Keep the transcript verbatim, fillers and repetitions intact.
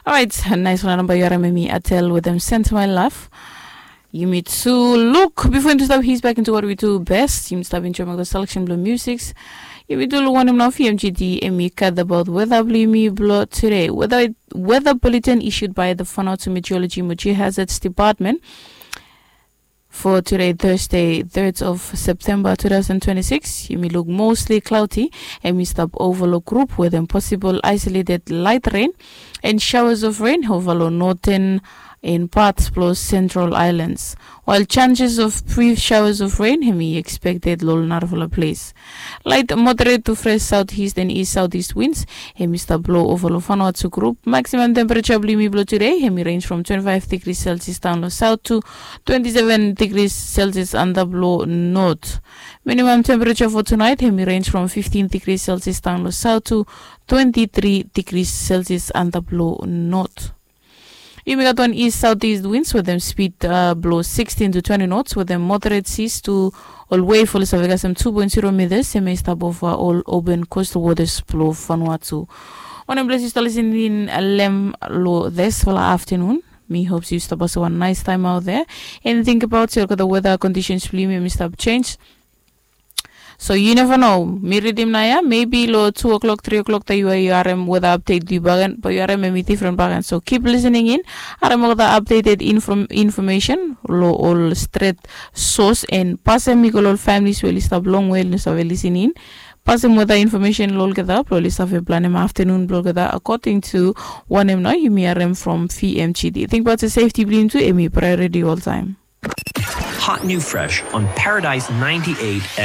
Orait, naisfala namba yu harim em i Atel wetem Send My Love. Yumi tu luk bifo yumi tu stap his back into what we do best. Yumi stap enjoy olgeta selection blong musics. Yumi tu luk wanem nao V M G D em i gat abaot weda blong yumi blong tude. Weda weda bulletin issued by the Vanuatu Meteorology mo Geohazards Department for tude Thursday, third of September two thousand twenty-six. Yumi luk mostly cloudy. Em i stap overlook group wetem possible isolated light rain and showers of rain over long northern and parts plus central islands, while chances of brief showers of rain em i expected long narafala place. Light moderate to fresh southeast and east southeast winds em i stap blow over long Vanuatu group. Maximum temperature blong yumi blong today em i range from twenty-five degrees Celsius down long south to twenty-seven degrees Celsius under blow north. Minimum temperature for tonight em i range from fifteen degrees Celsius down long south to twenty-three degrees Celsius under blow north. Yumi gat wan east southeast winds wetem speed uh, blow sixteen to twenty knots wetem moderate seas to ol wave oli save kasem two point zero meters em i stap over ol open coastal waters blow Vanuatu. Wanem ples yu stap listening lem lo this fala afternoon. Mi hope yu stap pasem wan nice time out there and think about se olgeta weather conditions blong yumi em i stap change. So you never know. Mi ridim nao ya maybe long two o'clock three o'clock taem yu yu harim weather update blong yu bagen bae yu harim em i different bagen. So keep listening in. Harim olgeta updated inform information long ol stret source and pasem i go long ol families we oli stap longwe oli no save listening in. Pasem weather information long olgeta blong oli save planem afternoon blong olgeta according to wanem nao yumi harim from V M G D. Think about se safety blong yumi tu em i priority oltaem. Hot new fresh on Paradise ninety-eight